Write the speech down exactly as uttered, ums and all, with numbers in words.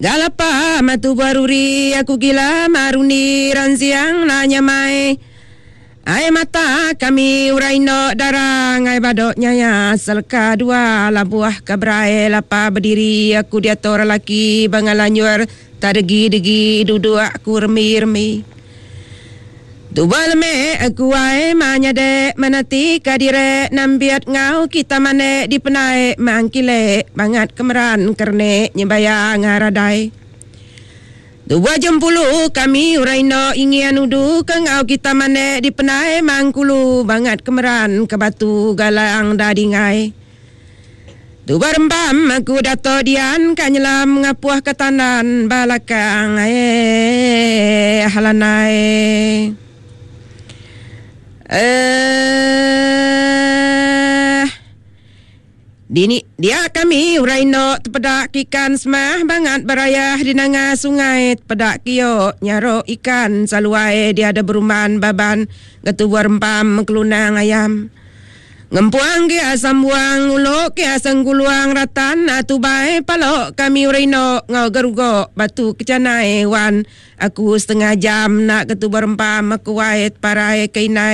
Galapa matu baruri aku gila maruni ransiang nanya mai. Ai mata kami urai no darang ai badok nyaya selka dua labuah keberai lapa berdiri aku dia tor laki bangalanyur tadegi-degi duduk aku remi-remi. Tuba leme aku ai manyade menati kadire nambiat ngau kita mane di penai mangkile bangat kemeran kerne nyebaya ngaradai. Tuba jempulu kami uraino ingian udu ke ngau kita mane di penai mangkulu bangat kemeran ke batu galang dadingai. Tuba rembam aku dato dian ka nyelam ngapuah ke tandan balakang eh halanai. Eh Dini dia kami uraino tepedak ikan semah bangat berayah di nanga sungai tepedak kio nyaro ikan saluai dia ada beruman baban getubuar rempam kelunang ayam. Ngempuang ke asam buang ulok ke asam guluang ratan atu bai palok kami uraino ngau gerugo batu kecanai wan aku setengah jam nak ketubuar rempam aku wait parai keinai.